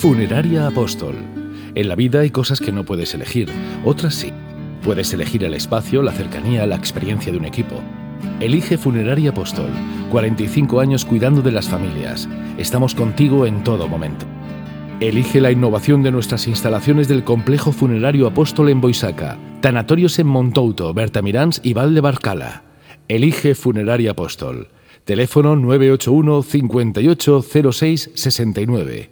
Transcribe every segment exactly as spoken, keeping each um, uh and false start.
Funeraria Apóstol. En la vida hay cosas que no puedes elegir, otras sí. Puedes elegir el espacio, la cercanía, la experiencia de un equipo. Elige Funeraria Apóstol. cuarenta y cinco años cuidando de las familias. Estamos contigo en todo momento. Elige la innovación de nuestras instalaciones del Complejo Funerario Apóstol en Boisaca, Tanatorios en Montouto, Bertamiráns y Val de Barcala. Elige Funeraria Apóstol. Teléfono nueve ocho uno, cincuenta y ocho, cero seis, sesenta y nueve.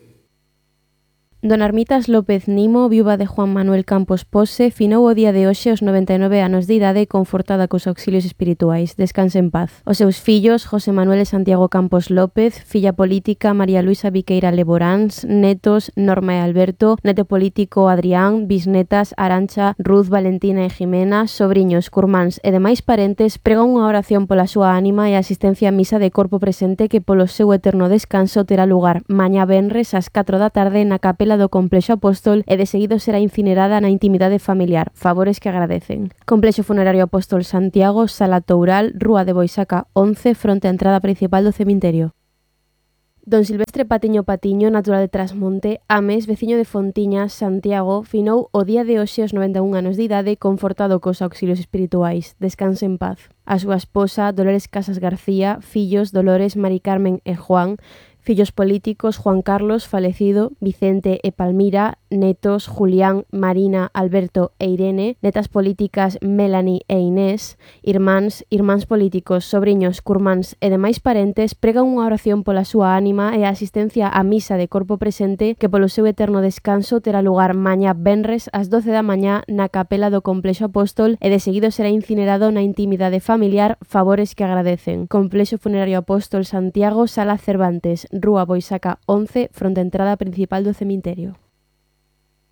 Don Armitas López Nimo, viúva de Juan Manuel Campos Pose, finou o día de hoxe aos noventa e nove anos de idade confortada cos auxilios espirituais. Descanse en paz. Os seus fillos, José Manuel e Santiago Campos López, filla política María Luisa Viqueira Leboráns, netos Norma e Alberto, neto político Adrián, bisnetas Arancha, Ruth, Valentina e Jimena, sobriños, curmáns e demais parentes, pregan unha oración pola súa ánima e asistencia á misa de corpo presente que polo seu eterno descanso terá lugar mañá venres ás catro da tarde na capela do Complexo Apóstol e de seguido será incinerada na intimidade familiar, favores que agradecen. Complexo Funerario Apóstol Santiago, Sala Toural, Rúa de Boisaca once, fronte á entrada principal do cemiterio. Don Silvestre Patiño Patiño, natural de Trasmonte, Ames, veciño de Fontiñas, Santiago, finou o día de hoxe aos noventa e un anos de idade confortado cos auxilios espirituais. Descanse en paz. A súa esposa, Dolores Casas García, fillos Dolores, Mari Carmen e Juan, fillos políticos Juan Carlos, falecido, Vicente e Palmira, netos Julián, Marina, Alberto e Irene, netas políticas Melanie e Inés, irmáns, irmáns políticos, sobriños, curmáns e demais parentes, pregan unha oración pola súa ánima e a asistencia á misa de corpo presente que polo seu eterno descanso terá lugar mañá venres ás doce da mañá na capela do Complexo Apóstol e de seguido será incinerado na intimidade familiar, favores que agradecen. Complexo Funerario Apóstol Santiago, Sala Cervantes, Rúa Boisaca once, fronte á entrada principal do cemiterio.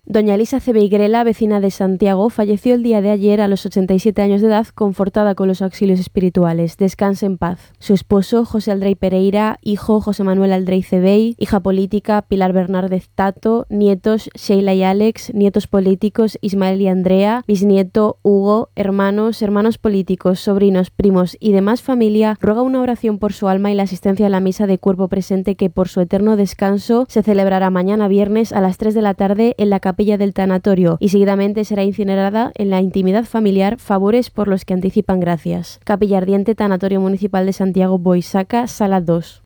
Doña Elisa Cebeirela, vecina de Santiago, falleció el día de ayer a los ochenta y siete años de edad, confortada con los auxilios espirituales. Descanse en paz. Su esposo, José Aldrey Pereira, hijo José Manuel Aldrey Cebey, hija política Pilar Bernárdez Tato, nietos Sheila y Alex, nietos políticos Ismael y Andrea, bisnieto Hugo, hermanos, hermanos políticos, sobrinos, primos y demás familia, ruega una oración por su alma y la asistencia a la misa de cuerpo presente que por su eterno descanso se celebrará mañana viernes a las tres de la tarde en la capilla del tanatorio y seguidamente será incinerada en la intimidad familiar, favores por los que anticipan gracias. Capilla Ardiente, Tanatorio Municipal de Santiago, Boisaca, Sala dos.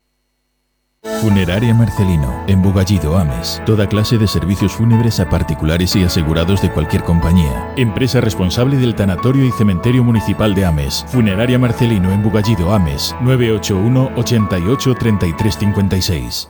Funeraria Marcelino, en Bugallido, Ames. Toda clase de servicios fúnebres a particulares y asegurados de cualquier compañía. Empresa responsable del Tanatorio y Cementerio Municipal de Ames. Funeraria Marcelino, en Bugallido, Ames. nueve ocho uno, ochenta y ocho, treinta y tres cincuenta y seis.